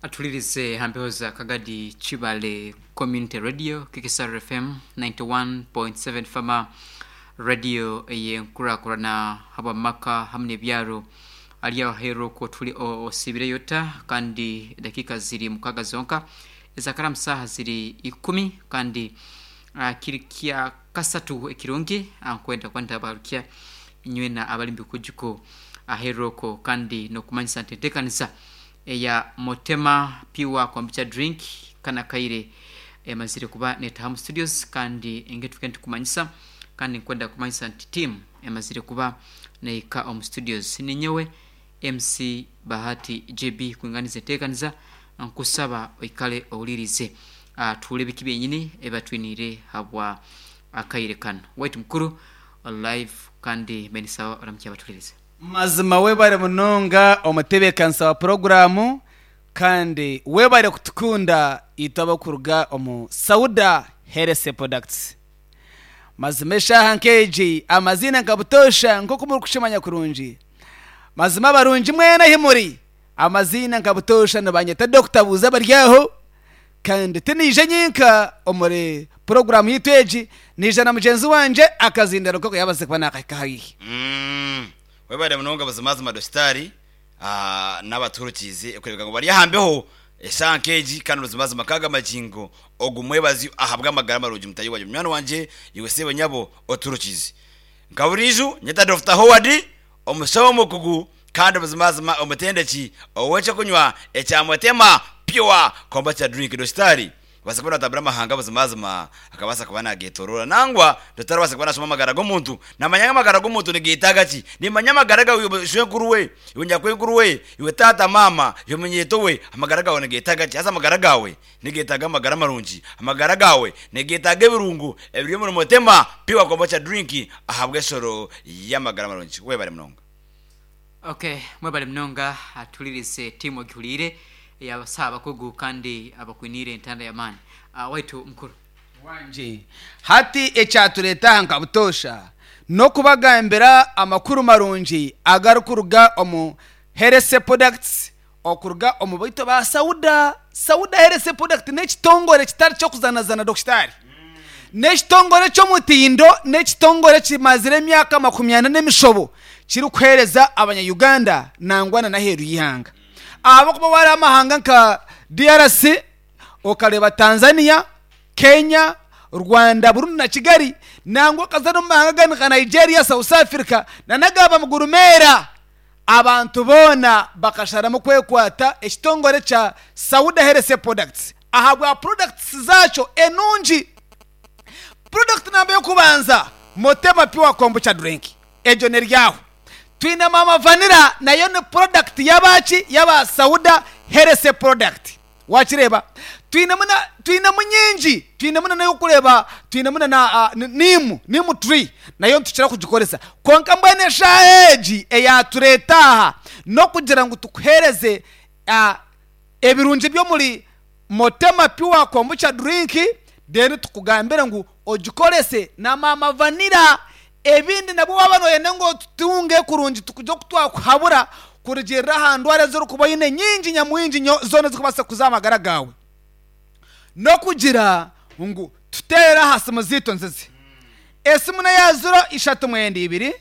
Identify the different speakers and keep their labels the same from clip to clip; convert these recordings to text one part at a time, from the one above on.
Speaker 1: Atulirize ha mpeho za Kagadi Kibale Community Radio, KKSR FM 91.7 Fama Radio ey'enkurakurana habw'amaka hamu n'ebyaro. Ali aho aheeru okwo tuli osiibireyo ota kandi edakiika ziri mukaaga zonka ezakaramu saaha ziri ikumi kandi kiri kya kasatu ekirungi nkwenda kuba ntabagarukya inywena abali mubikujuko aheeru okwo kandi n'okumanyisa nti enteekaniza eya Motema Pure Kombucha Drink kanu akaire emazire kuba netaha omu studios kandi engeri nitukumanyisa kandi nkwenda kukumanyisa nti team emazire kuba nehika omu studios. Ninyowe MC Bahati JB kwinganiza enteekaniza nkusaba oikale ohulirize tuhuure biki byenyini ebibatwiniire habwa akaire kanu. Waitu mukuru live kandi mbe nisaba oramukye abatuhulirize.
Speaker 2: Mazima webare munonga omutebeekanisa wa puroguraamu kandi webare kutukunda itwe abarikuruga omu Sauda Health Products. Mazima eshaaha nk'egi amaziina nka butoosha nk'oku murikukimanya kurungi. Mazima abarungi mwena ahi muri, amaziina nka butoosha nibanyeta Dokita Buuza Baryaho kandi tinaija nyenka omuri puroguraamu yaitu egi, naija na mugyenzi wangye akazindaro nk'oku yaabaasize kuba naakahika haihi.
Speaker 3: Webare munonga buzimazima Dositari n'abatuhurukiize okureebeka ngu bari aha mbeho eshaaha nk'egi kandi buzimazima kaaga magingo ogu mwebazyo ahabw'amagara marungi mutaahi wangye munywani wangye iwe seebo nyabo otuhurukiize. Nka buriijo nyeta Dokita Howard omushaho omukugu kandi buzimazima omutendeki ow'ekyokunywa ekya Motema Pure Kombucha Drink Dositari Kubaasa kuba naatambura amahanga buzimazima akabaasa kuba naageetooroora. Nangwa totarabaasa kuba naashoma amagara g'omuntu. Naamanya ngu amagara g'omuntu nigeetaaga ki. Nimmanya amagara gaawe iwe shwenkuru we, iwe nyakwenkuru we, iwe taata, maama, iwe munyeeto we, amagara gaawe nigeetaaga ki? Haza amagara gaawe nigeetaaga amagara marungi. Amagara gaawe nigeetaaga ebirungo ebiri omuri Motema Pure Kombucha Drink ahabw'eshoro y'amagara marungi. Webare munonga.
Speaker 1: Ok mwebale munonga atuhulirize team ogihuriire eyabasaho abakugu kandi abakwiniire entanda yamaani. Waitu mukuru.
Speaker 2: Wangye. Hati ekyatureeta aha nka butoosha n'okubagambira amakuru marungi agarikuruga omu Health Products okuruga omu baitu ba Sauda. Sauda Health Product n'ekitongore kitari ky'okuzanazana Dokitaari. N'ekitongore ky'omutindo, n'ekitongore kimazire emyaka 40 n'emishobo kirikuheereza abanya Uganda nangwa na n'aheeru y'eihanga. Ahabw'okuba waareeba amahanga nka DRC, okareeba Tanzania, Kenya, Rwanda, Burundi na Kigali, nangwa okaza n'omu mahanga agandi nka Nigeria, South Africa na n'agaba mugurumeera, Abantu boona bakasharamu kwekwata ekitongore kya Sauda Health Products ahabwa products zaakyo enungi. Product namba y'okubanza Motema Pure Kombucha Drink egyo neryaho. Twine Mama Vanilla nayo ni product y'abaki y'aba Sauda Health Product. Wakireeba? Twinemu na twinemu nyingi, twinemu na n'ey'okureeba, twinemu na na niimu, niimu tree, nayo nitukira kugikoresa. Kwonka mbwenu eshaaha egi eyaatureeta aha n'okugira ngu tukuheereze ebirungi by'omuri Motema Pure Kombucha Drink, then tukugambire ngu ogikorese na Maama Vanilla. Ebindi nabwo waaba nooyenda ngu otutunge kurungi tukugye oku twakuhabura kurugiirira aha ndwara ezi orikuba oine nyingi nyamwingi nyo zoona ezirikubaasa kuza aha magara gaawe. N'okugira ngu tuteerere aha simu zaitu nzizi. Esimu n'eya ziro ishatu mwenda ibiri,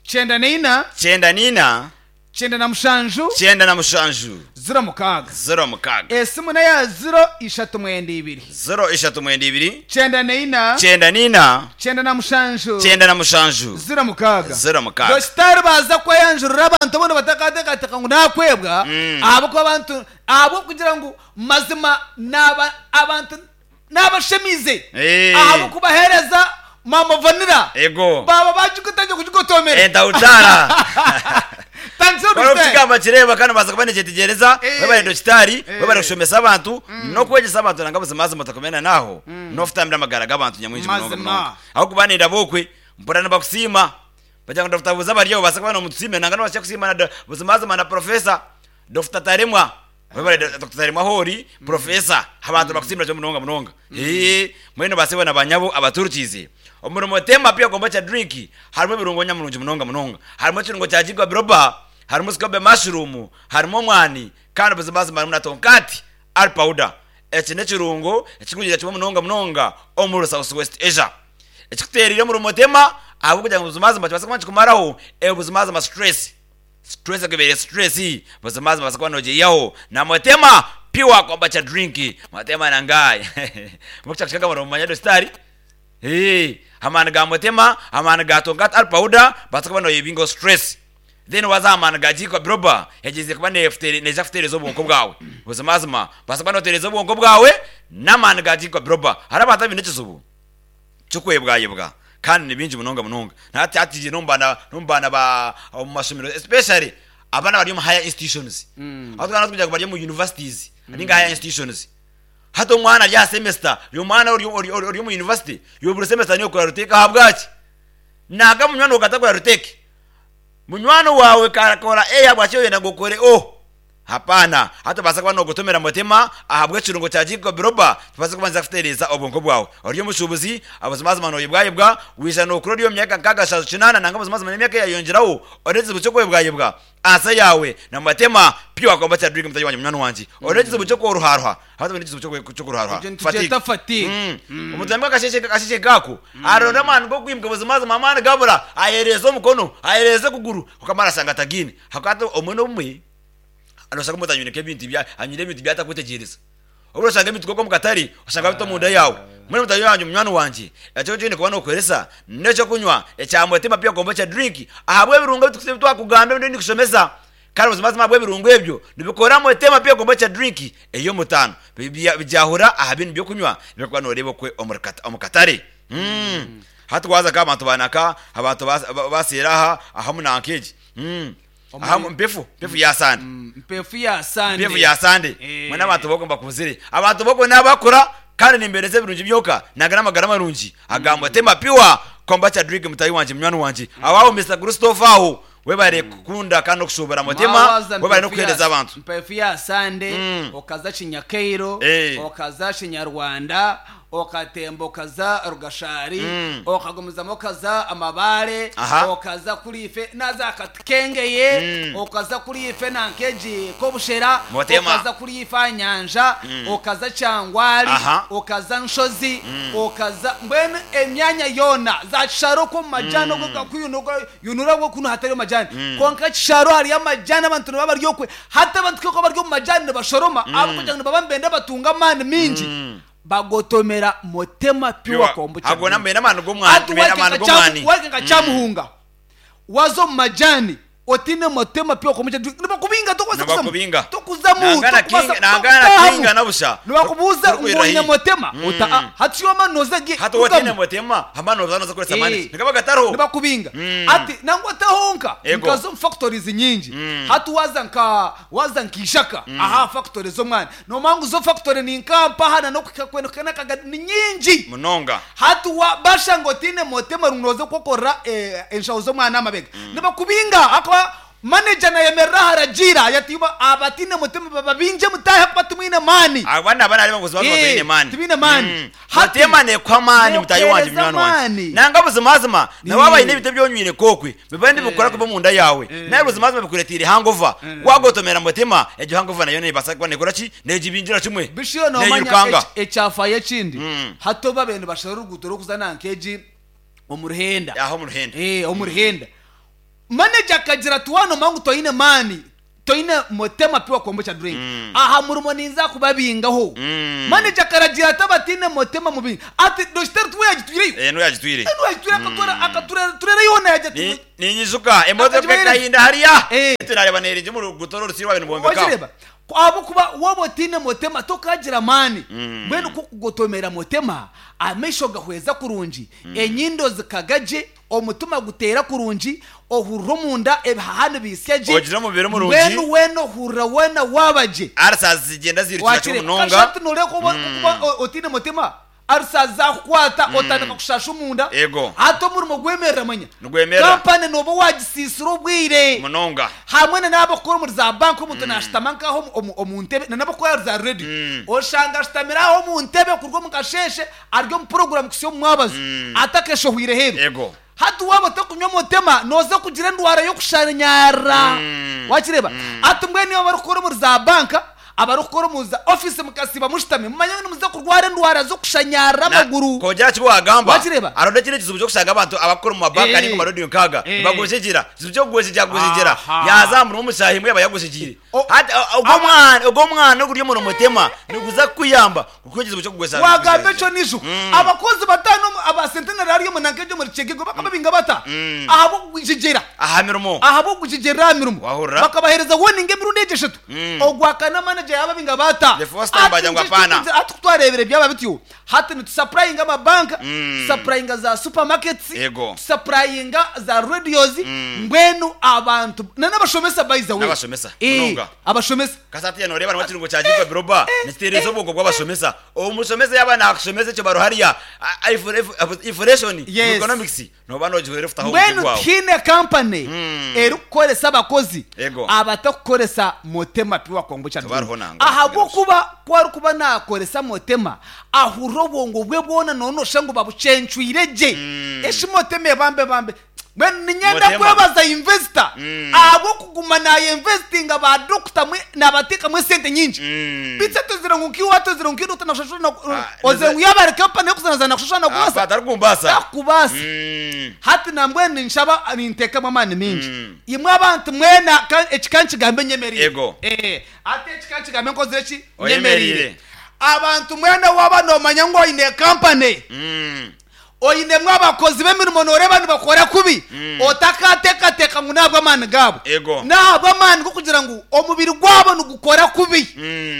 Speaker 2: kyenda naina,
Speaker 3: 94.
Speaker 2: 97.
Speaker 3: 97.
Speaker 2: 06.
Speaker 3: 06.
Speaker 2: Esimu n'eya ziro ishatu mwenda ibiri.
Speaker 3: 0 3 2.
Speaker 2: 94.
Speaker 3: 94.
Speaker 2: 97.
Speaker 3: 97.
Speaker 2: 06.
Speaker 3: 06.
Speaker 2: Dokitaari baaza kweyanjurira abantu boona batakateekateeka ngu naakwebwa, ahabw'okuba abantu ahabw'okugira ngu mazima naaba abantu Naabashemiize ahabw'okubaheereza Maama Vanilla.
Speaker 3: Ego.
Speaker 2: Baaba baagigotangire kugigotoomera.
Speaker 3: Entahuzaara.
Speaker 2: Tandisa
Speaker 3: Kwari
Speaker 2: Dokitaari.
Speaker 3: okukigamba kireeba kandi obaasa kuba nikyetegyereza webare Dokitaari, webare kushomesa abantu n'okwegyesa abantu nanga buzimazima otakumena n'aho n'ofutambira amagara g'abantu nyamwingi munonga
Speaker 2: Mazima.
Speaker 3: munonga. Ahabw'okuba nindaba okwe mpurira nibakusiima bagira ngu Dokita Buuza bari obaasa kuba nomutusiimira nanga nobaasa kusiima na buzimazima na Professor Dokita Taremwa. Webale Dr. Taremwa ahoori, Professor, abantu nibakusiimira kimwe munonga munonga. Eeh, mbwenu baasebo na banyabo abaturukiize, omuri Motema Pure Kombucha Drink harimu ebirungo nyamurungi munonga munonga. Harimu ekirungo kya Ginkgo biloba, harimu scobe mushroom, harimu omwani kandi buzimazima harimu na tonkati ari powder. Eki n'ekirungo ekirikurugiirira kimwe munonga munonga omuri South West Asia. Ekikuteereire omuri Mutema ahabw'okugira ngu buzimazima kibaase kuba nikikumaraho buzimazima stress. Stress ekubaire stress buzimazima obaase kuba nogiihaho na Mutema pure kombucha drink. Mutema nangayi mbwenu nomumanya Dositari? Eeh amaani ga Mutema, amaani ga Tonkat Al Powder baasa kuba noyebingaho stress. Then waza aha maani ga Ginkgo Biloba egyize kuba neija kutereeza obwonko bwawe. Buzimazima baasa kuba notereeza obwonko bwawe n'amaani ga Ginkgo Biloba. Hariho abantu abaine ekizibu ky'okwebwayebwa kandi ni bingi munonga munonga. Na hati hati n'omu baana n'omu baana ba omu mashomero especially abaana abari omu higher institutions. Ahu twaaba nitugira ngu bari omu universities ninga higher institutions. Hati omwana ari aha semester, omwana ori ori ori omu university, iwe buri semester niiwe okora retake ahabwaki? Naaga munywani waawe katakora retake? Munywani waawe kakora A ahabwaki oyenda ngu okore O? Hapaana. Hati obaasa kuba noogotomera mutima ahabw'ekirungo kya Ginkgo biloba kibaase kuba nikiza kutereeza obwonko bwawe. Ori omushuubuzi, buzimazima nooyebwayebwa, waija nookura ori omu myaka nkaaga shaju kinaana nanga buzimazima n'emyaka eyayongyeraho, oine ekizibu ky'okwebwayebwa. Ansa yaawe na matema pure komba drink mutayi wangye munywani wangye olina ekizibu ky'okuruharuha abantu baine ekizibu ky'okuruharuha
Speaker 2: Ekyo nitukyeta fatigue.
Speaker 3: Omuntu yaimuka akasheeshe akasheeshe nk'ako aronda amaani g'okwimuka buzimazima amaani gabura ayereeza omukono ayereeza okuguru kwonka amaani ashanga atagaine ahabw'okuba hati obumwe n'obumwe noshanga omuntu anywire nk'ebintu anywire ebintu ebi atakwetegyereza. Obumwe noshanga ebintu nk'omu katare oshanga bita omunda yaawe. Mbwenu mutaahi wangye munywani wangye, ekyo eki oine kuba nookoresa n'eky'okunywa ekya Mutima Pure Kombucha Drink ahabw'ebirungo ebi twakugamba ebi ndiyo nikushomesa. Kandi buzimazima ahabw'ebirungo ebyo nibikora Mutima Pure Kombucha Drink ey'omutaano. Bigyahura aha bindi by'okunywa ebi orikuba nooreeba okwe omu katare. Hati waaza nk'abantu ba naka, abantu ba seeri aha, aha omu nanka egi. Aha mpefu, mpefu ya sande.
Speaker 2: Mpefu ya sande.
Speaker 3: Mpefu ya sande. Mbwenu abantu b'okwo mbakuzire. Abantu b'okwo n'abakura kandi nimbeereza ebirungi byonka nanga n'amagara marungi aga Mutima Pure Kombucha Drink mutaahi wangye munywani wangye. Aho aho Mister Christopher aho webare kukunda kandi n'okushuubura Mutima, webare n'okuheereza abantu.
Speaker 2: Mpefu ya sande okaza Kinyakairo, okaza Kinyarwanda, okatemba okaza Rugashari, okagumizamu okaza Amabaare, okaza kuri ife naza Katikengeye, okaza kuri ife nanka egi Kobushera, okaza kuri ife aha nyanja, okaza Kyangwari, okaza Nshozi, okaza mbwenu emyanya yoona, za Kisharo okwo omu majani okwo kuyunura okwo kunu hatariyo majani, kwonka Kisharo hariyo amajani abantu nibaba bari okwe, hati abantu ku barikuba bari omu majani nibashoroma ahabw'okugira ngu nibaba nibenda batunge amaani maingi. Bagotomera Motema Pure Kombucha
Speaker 3: Ago
Speaker 2: Drink.
Speaker 3: nambwenu amaani g'omwani,
Speaker 2: Hati
Speaker 3: mbwenu amaani
Speaker 2: waika
Speaker 3: g'omwani.
Speaker 2: waika nka Kyamuhunga, waza omu majani otiine Motema Pure Kombucha Drink, nibakubinga tokubaasa kuzamu.
Speaker 3: Nibakubinga.
Speaker 2: Tokuzamu,
Speaker 3: Nangana
Speaker 2: tokubaasa
Speaker 3: kinga, nangana
Speaker 2: tokutaahamu.
Speaker 3: kinga na busha.
Speaker 2: Nibakubuuza ngu
Speaker 3: Torikwirira
Speaker 2: oine
Speaker 3: haihi.
Speaker 2: Motema, ota a hati shi wamara nooza gye,
Speaker 3: Hati waaba otiine
Speaker 2: rugamu.
Speaker 3: Motema, amaani nooza nooza kukoresa amaani ki?
Speaker 2: Eh.
Speaker 3: Nigaba gatariho.
Speaker 2: Nibakubinga. Hati nangwa te honka,
Speaker 3: Ego.
Speaker 2: nkaza omu factories nyingi. Hati waaza nka waaza nka Ishaka, aha factory z'omwani. Noomanya ngu zo factory ni nka mpaha na n'okuhika kwenda kuhika n'akaga ni nyingi.
Speaker 3: Munonga.
Speaker 2: Hati wa bashanga otiine motema ngu nooza kwokorera enshaho z'omwana aha mabega. Nibakubinga ahakuba manager nayemerera aha aragiira ayatiiba abatiine motema bababingye mutaahe ahakuba timwine maani.
Speaker 3: Aba naba nareeba ngu buzima buzima toine maani.
Speaker 2: Tibaine maani. Hati
Speaker 3: Motema neekuha amaani mutaahi wangye
Speaker 2: neekuheereza
Speaker 3: munywani wangye.
Speaker 2: amaani.
Speaker 3: Nanga buzimazima na waaba oine ebintu ebi onywire nk'okwe bibaire nibikukora kubi omunda yaawe, nari buzimazima bikureeteire hangover, waagotomera Mutima, egyo hangover nayo neebaasa kuba neekora ki? Neegibingira kimwe.
Speaker 2: Bishio noomanya
Speaker 3: Neeirukanga.
Speaker 2: ekyafaayo ekindi, hati obu baabaire nibashara oruguuto rw'okuza nanka egi omu Ruhenda.
Speaker 3: Aha omu Ruhenda.
Speaker 2: Omu Ruhenda. Manager akagira ati waaba noomanya ngu toine maani, Toine motema pure kombucha drink. Aha murimo ninza kubabingaho. Manager akaragira ati abataine motema mubinge. Ati Dositeri tiwe yagitwireyo?
Speaker 3: Eh, niwe yagitwire.
Speaker 2: Eh, niwe yagitwire akatura akaturera turera yoona yagira ati
Speaker 3: Ninyijuka emotoka
Speaker 2: Akagibahereza.
Speaker 3: ekahinda hariya.
Speaker 2: Eh.
Speaker 3: Tunareba neeringi omu ruguuto oru orusiri rwabaire nirwombeka.
Speaker 2: Wakireba? Ku ahabw'okuba waaba otaine motema tokaagira maani. Mbwenu ku okugotomera motema, amaisho gahweza kurungi, enyindo zikaga gye, Omutima guteera kurungi, ohurira omunda ebihaha nibiisya gye,
Speaker 3: Ogira omubiri murungi.
Speaker 2: mbwenu weena ohurira weena waaba gye.
Speaker 3: Ulcers zigyenda ziirukira kimwe
Speaker 2: Wakireeba?
Speaker 3: munonga.
Speaker 2: Kasha hati nooreeba ku oba otaine mutima, ulcers zaakukwata otandika kushasha omunda.
Speaker 3: Ego.
Speaker 2: Hati omurimo gwemerera manya.
Speaker 3: Nigwemerera.
Speaker 2: Kampani nooba waagisiisira obwire.
Speaker 3: Munonga.
Speaker 2: Hamwe na n'abakukora omuri za banka omuntu naashutama nk'aho omu ntebe na n'abakukora ahari za reediyo. Oshanga ashutamire aho omu ntebe kuruga omu kasheeshe ari omu puroguramu kuhitsya omu mwabazyo atakeshohwire heeru.
Speaker 3: Ego.
Speaker 2: Hati waaba otarikunywa motema nooza kugira endwara y'okushanyara. Wakireeba? Ati mbwenu imwe abarikukora omuri za banka, abarikukora omu za ofiisi mukasiiba mushutami, mumanye ngu nimuza kurwara endwara z'okushanyarara amaguru.
Speaker 3: Kwongyera aha ki waagamba,
Speaker 2: Wakireeba?
Speaker 3: hariho n'ekindi ekizibu ky'okushanga abantu abarikukora omu mabanka nainga omu marediyo nk'aga nibagwejegyera. Ekizibu ky'okugwejegyera gwejegyera,
Speaker 2: Aha.
Speaker 3: yaaza aha murimo omu shaaha emwe yaaba yagwejegyeire.
Speaker 2: O-
Speaker 3: Hati ogwo omwana ogwo omwana oguri omu mutema niguza kukuyamba kukuha ekizibu ky'okugwesa
Speaker 2: Wagamba ekyo nijo. Abakozi bataano omu aba Centenary hariya omu nanka egyo omuri Kyegegwa bakababinga bata? Ahabw'okugwejegyera.
Speaker 3: Aha mirimo.
Speaker 2: Ahabw'okugwejegyerera aha mirimo.
Speaker 3: Wahurira?
Speaker 2: Bakabaheereza warning emirundi egyo eshatu. Ogwakana manager yababinga bata?
Speaker 3: The first time bagira ngu
Speaker 2: Hati
Speaker 3: hapana.
Speaker 2: Hati ku twareebire byaba bityo, hati nitusapurayinga amabanka, tusapurayinga za supermarkets,
Speaker 3: Yego.
Speaker 2: tusapurayinga za radios, mbwenu abantu na n'abashomesa by the way.
Speaker 3: N'abashomesa,
Speaker 2: Eh,
Speaker 3: munonga.
Speaker 2: abashomesa.
Speaker 3: Kasi hatiiya nooreeba harimu ekirungo kya Jigwa Biroba nikitereeza obwongo bw'abashomesa. Omushomesa yaaba naakushomesa ekyo baro hariya inflation
Speaker 2: Yes.
Speaker 3: economics nooba noogihwera efutaho omutwe
Speaker 2: Mbwenu
Speaker 3: gwawe.
Speaker 2: tihaine kampani erikukoresa abakozi
Speaker 3: Ego.
Speaker 2: abatakukoresa Motema Pure Kombucha Drink.
Speaker 3: Tibariho nangwa.
Speaker 2: Ahabw'okuba ku arikuba naakoresa Motema, ahurira obwongo bwe bwona noonosha ngu babucencwire gye. Eshi Motema ebambe bambe. Mbwenu niinyenda
Speaker 3: Motema.
Speaker 2: kwebaza investor ahabw'okuguma naayinvesitinga ba doctor mwe naabateekamu esente nyingi. Beitu atozire ngu nkiiwe atozire ngu nkiiwe doctor nakushashura na ozire ngu yaaba ari company erikuzanazaana nakushashura nakubaasa.
Speaker 3: Atarikubaasa.
Speaker 2: Takubaasa. Hati nambwenu ninshaba ninteekamu amaani maingi. Imwe abantu mwena ka eki ka nkigambe nyemereire.
Speaker 3: Ego.
Speaker 2: Hati eki ka nkigambe nkozire ki?
Speaker 3: Oyemereire.
Speaker 2: Nyemereire. Abantu mwena waaba noomanya ngu oine company. Oinemu abakozi b'emirimo nooreeba nibakora kubi, otakaateekateeka ngu n'ahabw'amaani gaabo.
Speaker 3: Ego.
Speaker 2: N'ahabw'amaani g'okugira ngu omubiri gwabo nigukora kubi.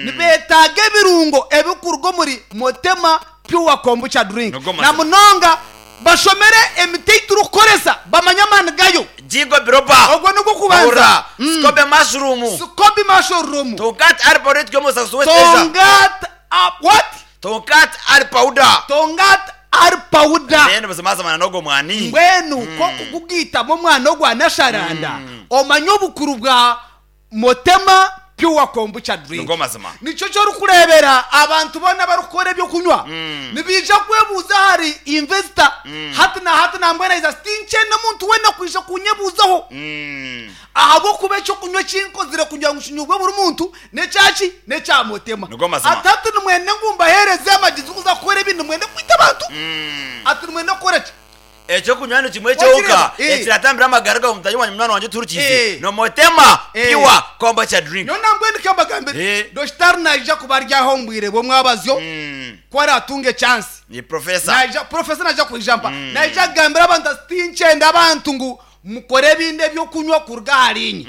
Speaker 2: Nibeetaaga ebirungo ebirikuruga omuri Motema Pure Kombucha Drink.
Speaker 3: Nigo
Speaker 2: Na
Speaker 3: mazima.
Speaker 2: munonga bashomere emiti ei turikukoresa bamanye amaani gayo.
Speaker 3: Ginkgo biloba.
Speaker 2: Ogwo nigwo kubanza.
Speaker 3: Hurira. Scoby mushroom.
Speaker 2: Scoby mushroom.
Speaker 3: Tongkat ali powder eturi omu South West Asia.
Speaker 2: Tongkat a what?
Speaker 3: Tonkat ari powder.
Speaker 2: Tongat ari powder.
Speaker 3: Then buzimazima n'ogwo mwani.
Speaker 2: Mbwenu k'okugugaitamu omwana ogwa nasharanda omanye obukuru bwa Motema Pure Kombucha Drink.
Speaker 3: Nigo mazima.
Speaker 2: Nikyo eki orikureebera abantu boona abarikukora eby'okunywa nibaija kwebuuza ahari investor hati na hati nambwenu aija ati tinkyenda muntu weena kwija kunyebuuzaho. Ahabw'okuba eky'okunywa eki nkozire kugira ngu kinyubwe buri muntu n'ekya ki? N'ekya Mutema.
Speaker 3: Nigo mazima.
Speaker 2: Ati hati nimwenda ngu mbaheereze amagezi g'okuza kukora ebi? Nimwenda kwita abantu? Ati nimwenda kukora ki?
Speaker 3: Eky'okunywa ni kimwe
Speaker 2: Wakireba?
Speaker 3: kyonka
Speaker 2: Eh.
Speaker 3: ekiratambira amagara gawe mutahi wangye munywani wangye otuhurikiize
Speaker 2: Eh.
Speaker 3: ni Motema
Speaker 2: Eh.
Speaker 3: Pure Kombucha Drink.
Speaker 2: Nyowe nambwenu kambagambire,
Speaker 3: Eh.
Speaker 2: Dositari naija kuba ari aho omu bwire bw'omwabazyo ku araatunge chance.
Speaker 3: Ni Professor.
Speaker 2: Naija, Professor naija kwija mpa. Naija kugambira abantu ati tinkyenda abantu ngu Mukore ebindi eby'okunywa kuruga ahariinye.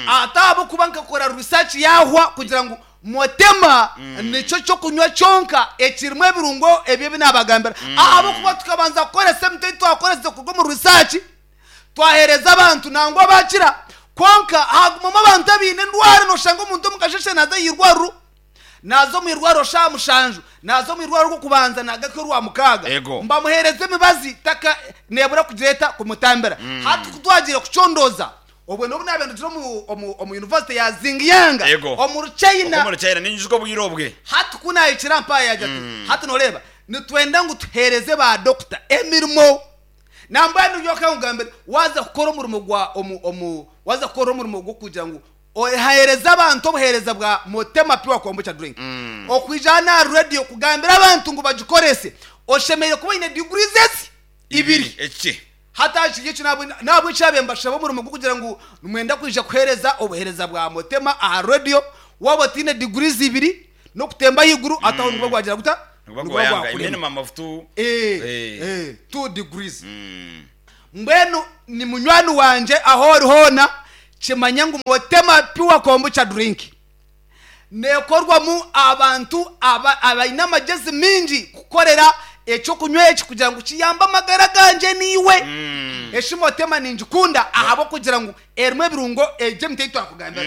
Speaker 2: Ati ahabw'okuba nkakora research yaahwa kugira ngu Motema nikyo ky'okunywa kyonka ekirimu ebirungo ebi ebi naabagambira. Ahabw'okuba tukabanza kukoresa emiti ei twakoresize kuruga omu research, twaheereza abantu nangwa baakira. Kwonka haagumamu abantu abaine endwara nooshanga omuntu omu kasheeshe naaza aha irwariro, Naaza omu irwariro shaaha mushanju, naaza omu irwariro orw'okubanza naagaruka orwamukaaga.
Speaker 3: Ego.
Speaker 2: Mbamuheereza emibazi taka neebura kugira eta kumutambira. Hati ku twagiire kucondooza, obwo n'obu naabaire ndugire omu, omu, omu yunivasite ya Xinjiang,
Speaker 3: Ego.
Speaker 2: omuri China.
Speaker 3: Okwo omuri China, ninyijuka obwire obwe.
Speaker 2: Hati ku naahikire aha mpaha yaagira ati, Hati nooreeba, nitwenda ngu tuheereze baadokita emirimo. Nambwenu nyowe ka nkugambire, waaza kukora omurimo gwa, omu, omu, waaza kukora omurimo gw'okugira ngu Oheereze abantu obuheereza bwa Motema Pure Kombucha Drink. Okwija hanu aha radio kugambira abantu ngu bagikorese, oshemereire kuba oine degrees ezi ibiri.
Speaker 3: Eki.
Speaker 2: Hati aha kiri ekyo nahabweki naabaire mbashaba omurimo gw'okugira ngu nimwenda kwija kuheereza obuheereza bwa Motema aha radio, waaba otaine degrees ibiri n'okutemba ahaiguru hati aho niguba gwagira guta?
Speaker 3: Niguba
Speaker 2: Niguba
Speaker 3: gwayanga.
Speaker 2: gwakurema.
Speaker 3: Minimum of two.
Speaker 2: Two degrees. Mbwenu ni munywani wangye ahu ori hoona, kimanye ngu Motema Pure Kombucha Drink neekorwamu abantu abaine amagyezi maingi kukorera eky'okunywa eki kugira ngu kiyambe amagara gangye naiwe. Eshi Motema ningikunda ahabw'okugira ngu erimu ebirungo egyo emiti ei twakugambira.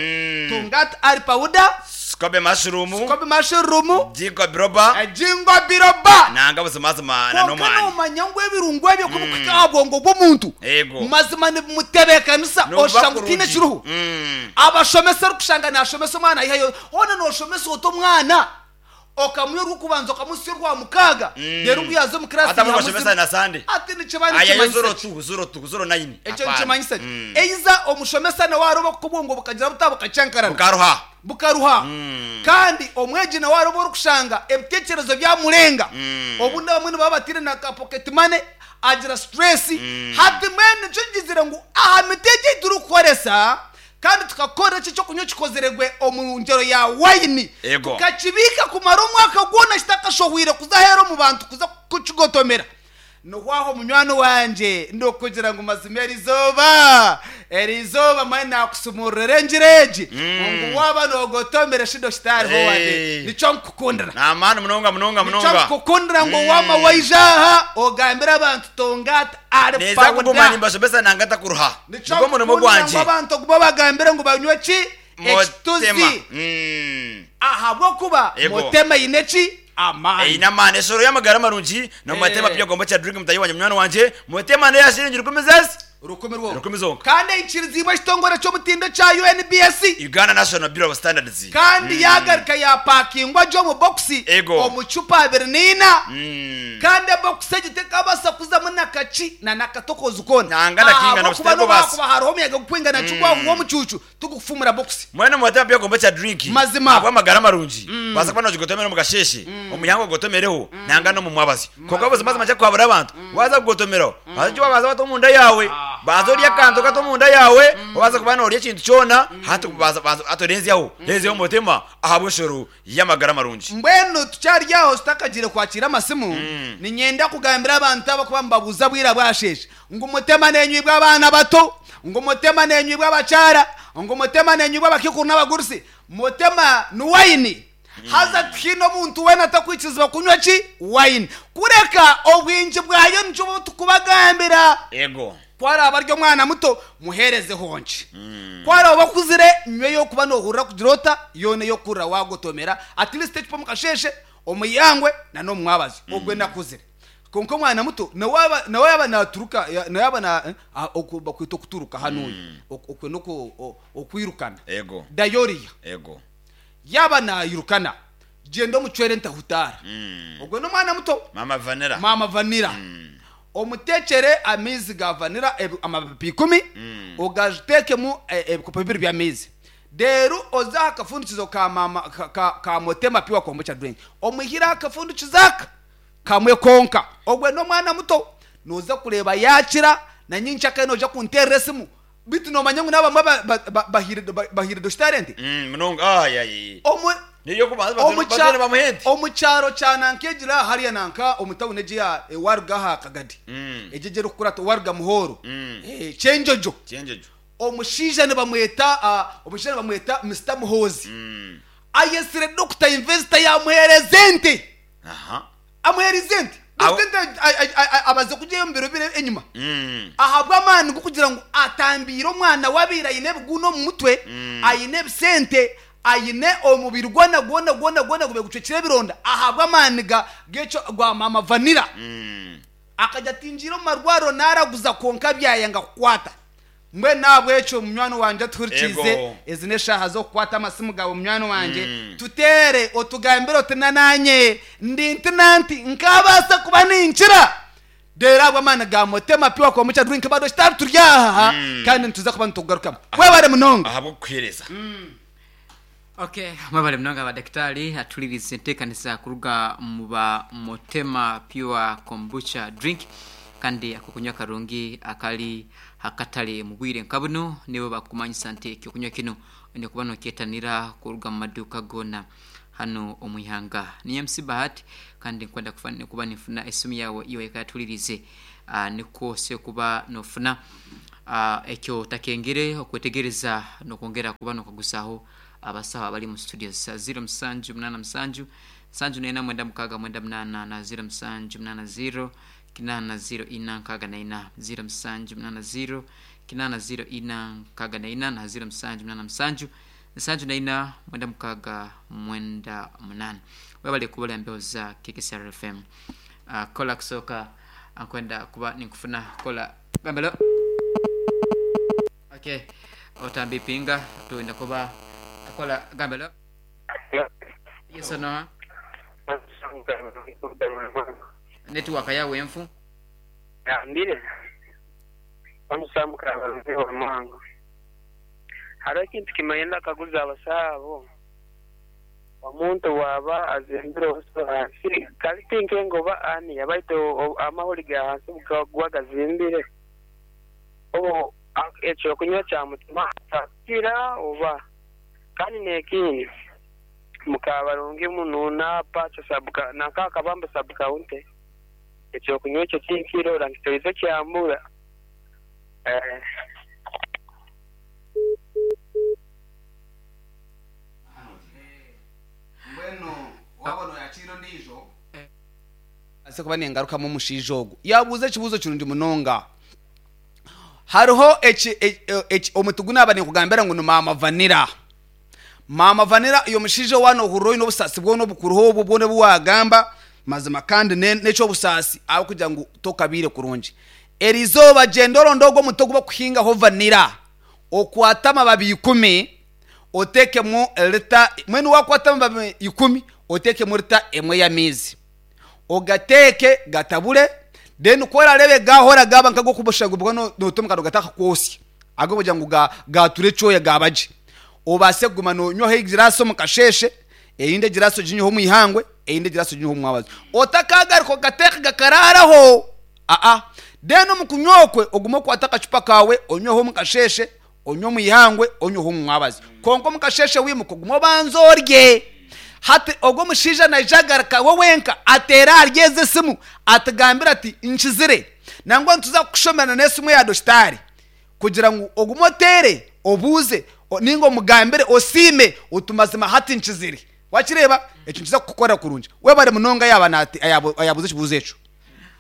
Speaker 2: Tungat ari powder,
Speaker 3: Scoby mushroom,
Speaker 2: Scoby mushroom,
Speaker 3: Ginkgo biloba,
Speaker 2: Ginkgo biloba.
Speaker 3: nanga buzimazima na
Speaker 2: Kwonka
Speaker 3: n'omwani.
Speaker 2: noomanya ngu ebirungo ebyo ku birikuhika aha bwongo bw'omuntu,
Speaker 3: Eego.
Speaker 2: mazima nibimutebeekanisa
Speaker 3: Nibuba
Speaker 2: oshusha ngu tihaine
Speaker 3: kurungi.
Speaker 2: ekiriho. Abashomesa orikushanga naashomesa omwana aihayo, hoona nooshomesa ota omwana? Okamuha orw'okubanza okamuhitsya orwa mukaaga, reero ku yaaza omu kiraasi
Speaker 3: Hati abamwe
Speaker 2: yihamu
Speaker 3: bashomesa
Speaker 2: ziro.
Speaker 3: na Sande.
Speaker 2: Hati nikiba
Speaker 3: Ayayo
Speaker 2: nikimanyisa
Speaker 3: ziro
Speaker 2: ki?
Speaker 3: tu, ziro tu, ziro nayini.
Speaker 2: Ekyo
Speaker 3: Hapana.
Speaker 2: nikimanyisa ki? Eiza omushomesa nawe aroba kuko obwongo bukagira buta? Bukakyankarana.
Speaker 3: Bukaruha.
Speaker 2: Bukaruha. Kandi omwegi nawe aroba orikushanga ebiteekyerezo byamurenga. Obundi abamwe nibaba bataine na ka pocket money, agira stress. Hati mbwenu nikyo ngizire ngu aha miti egi ei turikukoresa, Kandi tukakora eki eky'okunywa ekikozirwe omu ngyero ya waini,
Speaker 3: Ego.
Speaker 2: tukakibiika kumara omwaka gwona kitakashohwire kuza aheeru omu bantu kuza kukigotomera. Niho aho munywani wangye ndikugira ngu mazima eri izooba, eri izooba mbwenu naakusumururira engiri egi, ngu waaba noogotomera eshido kitariho wade.
Speaker 3: Hey.
Speaker 2: Nikyo nkukundira.
Speaker 3: N'amaani munonga munonga
Speaker 2: Nikyo
Speaker 3: munonga.
Speaker 2: nkukundira ngu waama waija aha ogambire abantu tongata ari
Speaker 3: Neeza kuguma
Speaker 2: pawuda.
Speaker 3: nimbashomesa nanga ntakuruha.
Speaker 2: Nikyo
Speaker 3: Nigwo murimo
Speaker 2: nkukundira ngu
Speaker 3: gwangye.
Speaker 2: abantu ogume obagambire ngu banywe ki?
Speaker 3: Motema.
Speaker 2: Ekituzi. Ahabw'okuba
Speaker 3: Ego.
Speaker 2: Motema eine ki? Amaani.
Speaker 3: Eine amaani. Eshoro y'amagara marungi n'omu matema
Speaker 2: Eh.
Speaker 3: pure kombucha drink mutahi wangye munywani wangye. Motema neya shiringi rukumi zezi.
Speaker 2: Rukumi rwonka.
Speaker 3: Rukumi zonka.
Speaker 2: Kandi eikiriziibwe ekitongore ky'omutindo ekya UNBS.
Speaker 3: Uganda National Bureau of Standards.
Speaker 2: Kandi yaagaruka yaapakingwa gye omu bokisi
Speaker 3: Ego.
Speaker 2: omu cupa abiri na ina. Kandi ebokisi egi tekabaasa kuzamu na kaki na n'akatokozi koona.
Speaker 3: Nanga na kinga na
Speaker 2: Ahabw'okuba
Speaker 3: busitere
Speaker 2: n'obu
Speaker 3: kubaasa.
Speaker 2: haakuba hariho omuyaga gukwingana ki gwahuuha omucuucu, tigukufumura bokisi.
Speaker 3: Mbwenu mubatema by'okombe kya drink
Speaker 2: Mazima.
Speaker 3: ahabw'amagara marungi. Baasa kuba nogigotomera omu kasheeshe, omu ihangwe ogotomereho, nanga n'omu mwabazyo. Kwonka buzima buzima kyakuhabura abantu, waaza kugotomeraho, haza eki waabaasa wata omunda yaawe. Banza orye akantu kato omunda yaawe, wabaasa kuba noorya ekintu kyona, hati banza banza hati orenzyaho, renzyaho omutema ahabw'eshoro y'amagara marungi.
Speaker 2: Mbwenu tukyari aho tutakagiire kwakiira amasimu, niinyenda kugambira abantu abarikuba nibabuuza bwira bwasheesha ngu mutema neenywibwa abaana bato, ngu mutema neenywibwa abakyara, ngu mutema neenywibwa abakiikuru n'abagurusi. Mutema ni waini. Haza tihaine omuntu weena atakwikirizibwa kunywa ki? Waini. Kureka obwingi bwayo nikyo obu turikubagambira.
Speaker 3: Ego.
Speaker 2: Ku araabe ari omwana muto, muheereze honki. Ku araabe akuzire, nywa ey'okuba noohurira kugira ota, yoona ey'okuhurira waagotomera, at least ecupa omu kasheeshe, omu ihangwe, na n'omu mwabazyo. Ogwe n'akuzire. Kwonka omwana muto, nawe yaaba nawe yaaba naaturuka, nawe yaaba na oku bakweta okuturuka hanuuya, okwe n'oku okwirukana.
Speaker 3: Ego.
Speaker 2: Diarrhea.
Speaker 3: Ego.
Speaker 2: Yaaba naayirukana, gyenda omucwere entahutaara. Ogwo n'omwana muto.
Speaker 3: Maama Vanilla.
Speaker 2: Maama Vanilla. Omuteekyere amaizi ga vanilla amababi ikumi, ogateekemu ebikopo bibiri by'amaizi. Reero oze aha kafundikizo ka maama ka Motema Pure Kombucha Drink, omwihire aha kafundikizo aka kamwe konka. Ogwo n'omwana muto. Nooza kureeba yaakira, na nyenkyakare noija kunteerera esimu. Beitu noomanya ngu n'abamwe bahaire dositari ente?
Speaker 3: Munonga. Ai, ai. Niyo kubanza batwire bamuha ente.
Speaker 2: Omu kyaro kya nanka egira hariya nanka omu tawuni egi ya waruga aha Kagadi. Egyo egi erikukurata waruga Muhoro. Kyenjojo.
Speaker 3: Kyenjojo.
Speaker 2: Omushaija nibamweta omushaija nibamweta Mister Muhoozi. Ayetsire Dokita Investor yamuheereza ente.
Speaker 3: Aha.
Speaker 2: Amuheerize ente.
Speaker 3: Aho-
Speaker 2: Dokita ente abaze kugyeyo omu biro biri enyima. Ahabw'amaani g'okugira ngu atambiire omwana we abaire aine ebiguuna omu mutwe, aine ebisente, aine omubiri gwona gwona gwona gwona gubaire gucwekire ebironda ahabw'amaani ga g'ekyo gwa maama Vanilla. Akagira ati, Ngiire omu marwariro naaraguza kwonka byayanga kukwata. Mbwenu n'ahabw'ekyo munywani wangye atuhurikiize,
Speaker 3: Ego.
Speaker 2: ezi n'eshaaha z'okukwata amasimu gaawe munywani wangye, tuteere otugambire oti na naanye ndi nti na nti nkaabaasa kuba ninkira. Reero ahabw'amaani ga Motema Pure Kombucha Drink bado kitari turi aha kandi nituza kuba nitukugarukamu. Webare munonga.
Speaker 3: Ahabw'okukuheereza.
Speaker 1: Ok, mwebale munonga ba dakitari atulirize entekanisa kuruga mu ba Motema Pure Kombucha Drink kandi akokunywa karungi akari hakatare mu bwire nka bunu nibo bakumanyisa nti ekyokunywa kinu oine kuba nokyetanira kuruga mu maduuka goona hanu omu ihanga. Ni MC Bahati kandi nkwenda kuba ninfuna esimu yaawe iwe eka yatulirize nikwo osobore kuba nofuna Ekyo otakengire okwetegereza n'okwongera kuba n'okaguzaaho abasaho abali mu studio za ziro musanju munaana musanju, nsanju n'ena mwenda mukaaga mwenda munaana na ziro musanju munaana ziro, kinaana ziro ina nkaaga na ina, ziro musanju munaana ziro, kinaana ziro ina nkaaga na ina na ziro musanju munaana musanju, nsanju na ina mwenda mukaaga mwenda munaana. Webale kuba ori aha mbeho za KKCR FM. Kola kusooka nkwenda kuba ninkufuna kola gambelo. Okay, otambipinga twenda kuba kola gambelo. Yes or no? Network yawe enfu.
Speaker 4: Ngambire Omusa Mukabarungi owa Mwango. Hariho ekintu kimwe ndakaguza abasaho abo, omuntu bwaba azimbire obuso ahansi kare tinkenga oba aniya baitu amahuri ga hansi obugakuba gazimbire obu ekyokunywa kyamutuma atakira oba? Kandi nekindi Mukabarungi Munuuna Pacho sub nanka Kabamba sub county Ekyokunywa ekyo tinkirora nkitoize kyambura.
Speaker 2: Mbwenu waaba nooyakiira ondiijo, mbaase kuba ningarukamu omushaija ogu. Yaabuuza ekibuuzo kirungi munonga. Hariho eki, eki, omuti gu naaba ninkugambira ngu ni maama vanira. Maama Vanilla iwe mushaija waaba nohurira oyine obusaasi bwona obukuriho obwo bwona obu wagamba mazima kandi neky'obusaasi ahabw'okugira ngu tokabaire kurungi. Erizooba gyenda oronde ogwo omuti ogu bakuhingaho vanilla okwate amababi ikumi otekemu lita mbwenu wakwata amababi ikumi otekemu lita emwe y'amaizi ogateeke gatabure then ku orareebe gaahora gaaba nk'ag'okubushagurwa noota omu kanwa gatakakwotsya ahabw'okugira ngu gaatura ekyoya gaaba gye. Obaase kuguma noonywaho egiraasi omu kasheeshe, erindi egiraasi oginyweho omu ihangwe, erindi egiraasi oginyweho omu mwabazyo. Otakaagaruka okateeka gakaraaraho, aa. Then omu kunywa okwe ogume okwate akacupa kaawe onyweho omu kasheeshe, onywe omu ihangwe, onyweho omu mwabazyo. Kwonka omu kasheeshe wiimuka ogume obanze orye. Hati ogwo omushaija naija agaruka we wenka ateere ahari ezi esimu atugambire ati, Nkizire. Nangwa nituza kukushomera na n'esimu eya dokitaari. Kugira ngu ogume oteere, obuuze, nainga omugambire, osiime oti mazima hati nkizire. Wakireeba? Ekyo nikiza kukukorera kurungi. Webare munonga yaaba ayaabuuza ekibuuzo ekyo.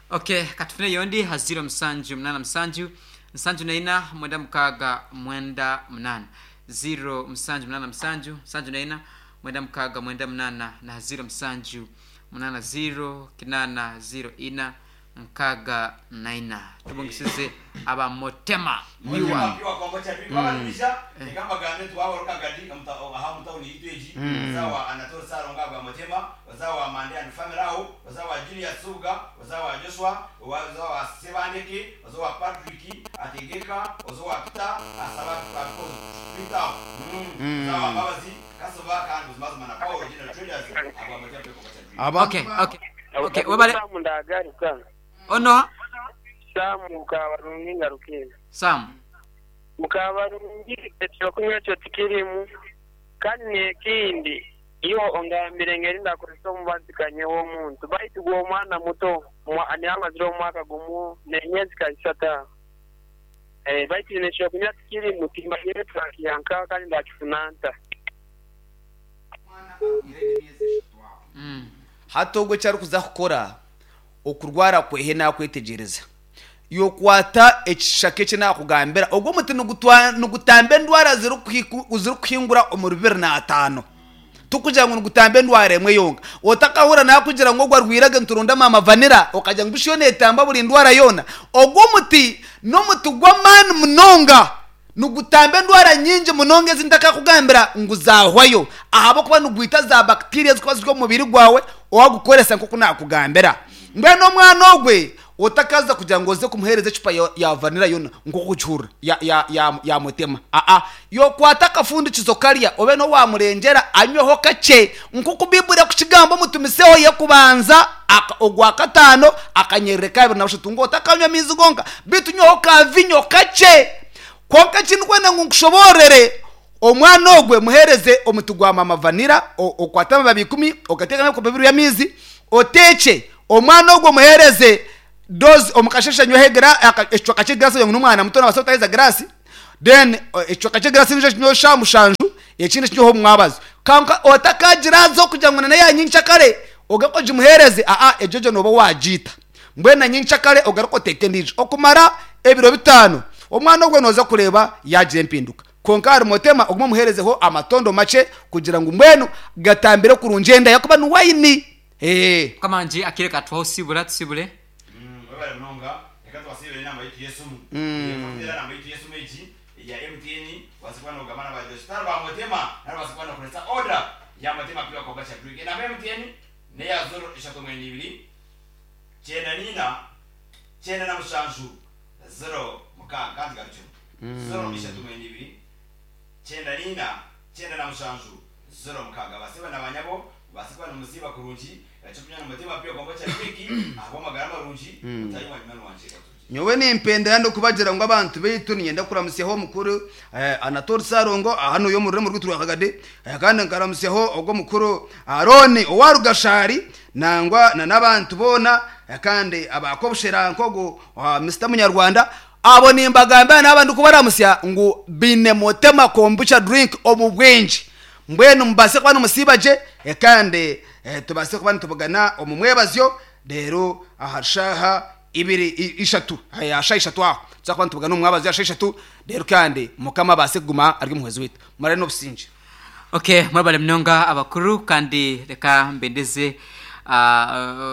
Speaker 1: Ok, katufune eyondi ha ziro musanju munana musanju, nsanju na ina, mwenda mukaaga, mwenda munana. Ziro musanju munana musanju, nsanju na ina, mwenda mukaaga, mwenda munana na ha ziro musanju munana ziro, kinana ziro ina, Nkaaga na ina. Tubungisize aba Motema Miwa. Okay, okay. Okay, webale.
Speaker 4: Sam ndagaruka.
Speaker 1: Ono
Speaker 4: Sam Mukabarungi ngarukire.
Speaker 1: Sam.
Speaker 4: Mukabarungi ekyokunywa ekyo tikirimu kandi nekindi iwe ongambire engeri ndakozesa omubazi kanye w'omuntu baitu gwe omwana muto niwe amazire omwaka gumu nemyezi ka isatu aho baitu nekyokunywa tikirimu timanyire twakiha nkaha kandi ndakifuna nta.
Speaker 2: Hati ogwo eki arikuza kukora, okurwara kwehe naakwetegyereza. Yokwata ekishaka eki naakugambira, ogwo omuti nigutamba endwara zirikuhingura omuri bibiri n'ataano. Tikugira ngu nigutamba endwara emwe yonka. Otakahurira naakugira ngu ogwo arwaire ge nituronda maama vanira, okagira ngu busha yo neetamba buri ndwara yoona. Ogwo omuti n'omuti gw'amaani munonga. Nigutamba endwara nyingi munonga ezi ntakakugambira ngu zahwayo ahabw'okuba nigwita za bacteria ezikuba ziri omu mubiri gwawe wagukoresa nk'oku nakugambira. Mbwenu omwana ogwe otakaza kugira ngu oze kumuhereza ecupa ya vanilla yona nk'oku okugihurira ya ya ya ya mutema aa yokwata akafundikizo karya obe niho wamurengyera anyweho kakye nk'oku Baiburi ekukigamba omutumiseho y'ekubanza aka ogwakataano akanyerere kabiri na bushatu ngu otakanywa amaizi gonka beitu nywaho ka vinyo kakye. Kwonka eki ndikwenda ngu nkushoboororere, omwana ogwe muheereze omuti gwa maama vanira, okwate amababi ikumi, ogateekemu ebikopo bibiri by'amaizi, oteekye. Omwana ogwo omuheereze doozi omu kasheeshe anyweho ekicweka ky'egiraasi ogira ngu n'omwana muto naabaasa kutaheza giraasi, then ekicweka ky'egiraasi endiijo okinyweho shaaha mushanju, ekindi okinyweho omu mwabazyo. Kwonka otakagiraaza okugira ngu n'eya nyenkyakare ogaruke ogimuheereze, aa egyo gyo nooba waagiita. Mbwenu na nyenkyakare ogaruke oteeke endiijo okumara ebiro bitaano. Omwana ogwo nooza kureeba yaagira empinduka. Kwonka ahari Motema ogume omuheerezeho amatondo makye kugira ngu mbwenu gatambire kurungi enda ahakuba ni wayini. Ee.
Speaker 1: Mukama wangye akaire katuhwaho sibura tusibure.
Speaker 3: Webale munonga reka tubasiibire enamba yaitu y'esimu. Reka enamba yaitu y'esimu egi eya MTN obaase kuba nogamba na ba Jostar ba Motema nari obaase kuba nokoresa order ya Motema Pure Kombucha Drink. Enamba ya MTN. N'eya ziro ishatu mwenda ibiri, kyenda n'ina, kyenda na mushanju, ziro mukaaga. Ka ngigarukyemu. Ziro ishatu mwenda ibiri, kyenda n'ina, kyenda na mushanju, ziro mukaaga. Baasebo na baanyabo, mubaase kuba nimusiiba kurungi, eky'okunywa ni Mutima Pure Kombucha Drink, ahabw'amagara marungi, mutaahi wa munywani wangye otugiire.
Speaker 5: Nyowe nimpendera ndikubagira ngu abantu baitu niinyenda kuramutsyaho omukuru Anatoli Ssalongo aha n'oyo omu rurembo rwaitu rwa Kagadi kandi nkaramutsyaho ogwo omukuru Arooni owa Rugashari nangwa na n'abantu boona kandi aba Kobushera nk'ogu Mister Munyarwanda abo nimbagambira naaba ndikubaramutsya ngu baine Motema Kombucha Drink omu bwingi mbwenu mubaase kuba nimusiiba gye kandi tubaase kuba nitubugana omu mwebazyo reero aha shaaha ibiri, ishatu, aha shaaha ishatu aho tuza kuba nitubugana omu mwabazyo aha shaaha ishatu, reero kandi Mukama abaase kuguma ari omuhwezi waitu. Murare n'obusingye.
Speaker 1: Okay, mwebale munonga abakuru kandi reka mbendeze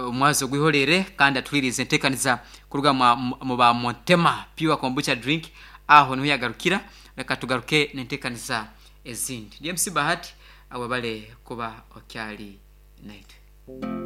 Speaker 1: omwazi ogwihorere kandi atuhwirize entekaniza kuruga mu ba Montema Pure Kombucha Drink aho niho yagarukira reka tugaruke n'entekaniza ezindi. Ndi MC Bahati, webale kuba okyali naitwe.